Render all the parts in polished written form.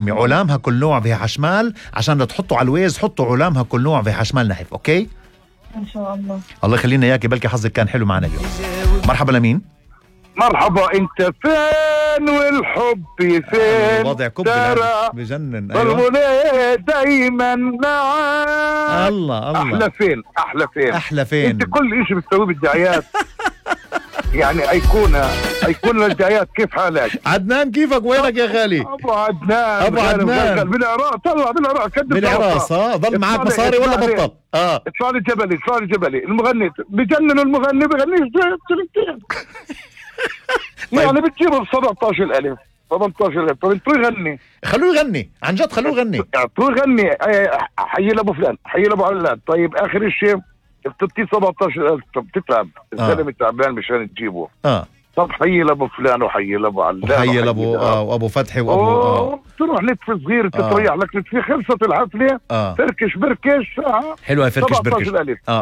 علامها كل نوع فيها حشمال، عشان تحطوا على الويز حطوا علامها كل نوع فيها حشمال نحف. اوكي ان شاء الله. الله يخلينا اياكي، بلكي حظك كان حلو معنا اليوم. مرحبا لمين؟ مرحبا، انت فين والحب فين؟ وضع كب بجنن. ايوه دايما معاك. الله احلى فين احلى فين احلى فين. انت كل اشي بتسويه بالدعايات يعني ايقونه للدعايات. كيف حالك عدنان؟ كيفك؟ وينك يا غالي؟ ابو عدنان بالعراق. طلع بالعراق بالعراق. ضل معك مصاري ولا بطل؟ ادفع لي جبلي المغني بجنن، المغني بغنيش تلتين يعني بتجيبه ب 17,000 18,000. طب انتوا يغني، خلوه يغني عن جد، خلوه يغني. انتوا يغني حي لابو فلان، حي لابو علان. طيب اخر الشيء بتبتي 17,000. طب تتعب الزلمه تعبان مشان تجيبه. طب حي لابو فلان وحي لابو علان وحي لابو وابو فتحي وابو تروح نتف صغير تتريح لك نتفي. خلصت الحفله تركش بركش. حلوه هي فركش بركش.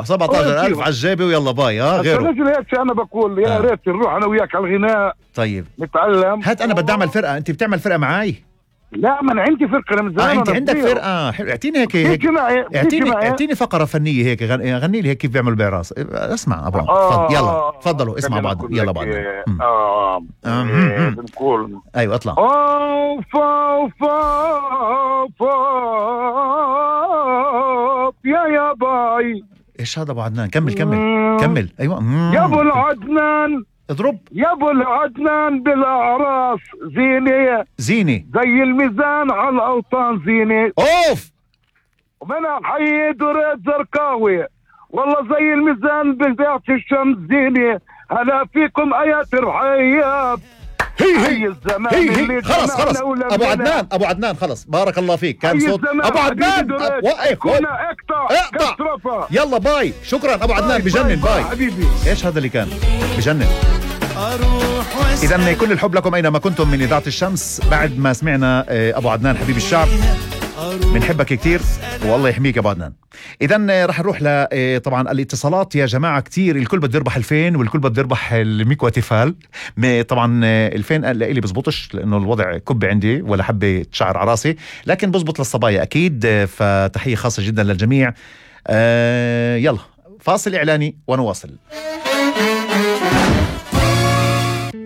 17,000 على الجيبه ويلا باي. غيره الرجل هيك انا بقول يا ريت نروح انا وياك على الغناء. طيب نتعلم. هات انا بدي اعمل فرقه، انت بتعمل فرقه معي؟ لا ما انا عندي فرقه، انا من زمان. انت عندك فرقه؟ حلو. اعطيني هيك اعطيني فقره فنيه هيك، غني لي هيك كيف بيعملوا بعراس. اسمع ابو يلا تفضلوا اسمع بعض. يلا بعض بنقول ايوه اطلع. يا باي. ايش هذا ابو عدنان؟ كمل. ايوه يا ابو العدنان اضرب. يا ابو العدنان بالاعراس زينه زي الميزان على الاوطان زينه. اوف. ومن حي دريد زرقاوي والله زي الميزان بذات الشمس زينه. هلا فيكم ايات الرحياب. هي الزمان. خلص ابو عدنان خلص. بارك الله فيك. كان صوت ابو عدنان. وقف اقطع. يلا باي. شكرا ابو عدنان. بجنن. باي حبيبي. ايش هذا اللي كان بجنن. إذن كل الحب لكم أينما كنتم من إذاعة الشمس. بعد ما سمعنا أبو عدنان حبيب الشعب، بنحبك كتير والله يحميك أبو عدنان. إذن رح نروح طبعا الاتصالات يا جماعة كتير. الكل بده يربح 2000 والكل بده يربح الميكوا تيفال. طبعا 2000 لإلي بزبطش لأنه الوضع كب عندي ولا حبة شعر عراسي، لكن بزبط للصبايا أكيد. فتحية خاصة جدا للجميع. يلا فاصل إعلاني ونواصل.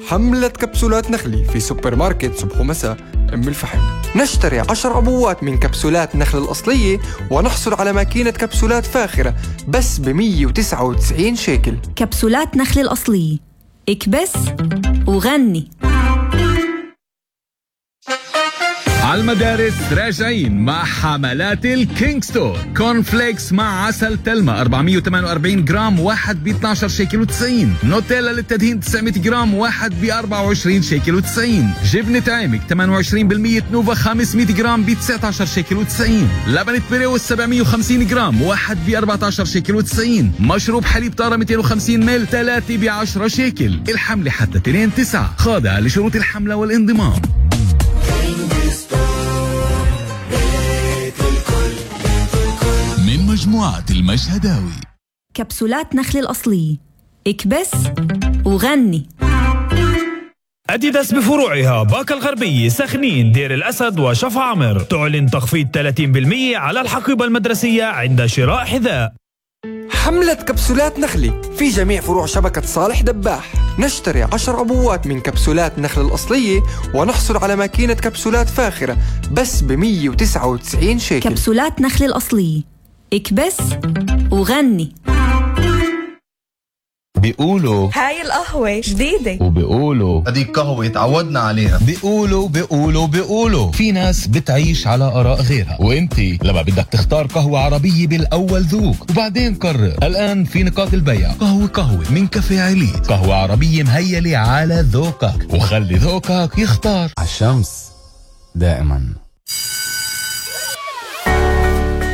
حملة كبسولات نخلي في سوبر ماركت صبح ومساء أم الفحم. نشتري 10 عبوات من كبسولات نخل الأصلية ونحصل على ماكينة كبسولات فاخرة بس ب199 شيكل. كبسولات نخل الأصلية، اكبس وغني. على المدارس راجعين مع حملات الكينج ستور. كورن فليكس مع عسل تلمة 448 جرام واحد ب12 شيكل و90. نوتيلا للتدهين 900 جرام واحد ب24 شيكل و90. جبنة عامك 28% نوفا 500 جرام ب19 شيكل و90. لبنة بريوس 750 جرام واحد ب14 شيكل و90. مشروب حليب طارة 250 مل 3 ب10 شيكل. الحملة حتى 2/9. خاضعة لشروط الحملة والانضمام. من مجموعة المشهداوي. كبسولات نخل الأصلية، اكبس وغني. أديداس بفروعها باكا الغربية، سخنين، دير الأسد وشف عمر تعلن تخفيض 30% على الحقيبة المدرسية عند شراء حذاء. حملة كبسولات نخلي في جميع فروع شبكة صالح دباح. نشتري 10 عبوات من كبسولات نخل الأصلية ونحصل على ماكينة كبسولات فاخرة بس ب199 شيكل. كبسولات نخل الأصلية، اكبس وغني. بيقولوا هاي القهوة جديدة، وبيقولوا هديك قهوة تعودنا عليها. بيقولوا في ناس بتعيش على آراء غيرها، وانتي لما بدك تختار قهوة عربية بالأول ذوق وبعدين قرر. الآن في نقاط البيع قهوة من كافيه عليت، قهوة عربية مهيلة على ذوقك، وخلي ذوقك يختار. عالشمس دائما.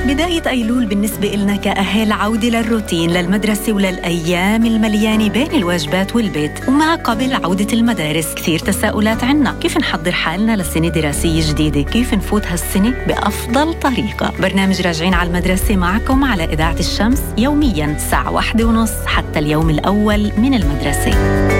بداية أيلول بالنسبة إلنا كأهل عودة للروتين، للمدرسة وللأيام المليانة بين الواجبات والبيت. ومع قبل عودة المدارس كثير تساؤلات عنا، كيف نحضر حالنا لسنة دراسية جديدة، كيف نفوت هالسنة بأفضل طريقة. برنامج راجعين على المدرسة معكم على إذاعة الشمس يومياً الساعة 1:30 حتى اليوم الأول من المدرسة.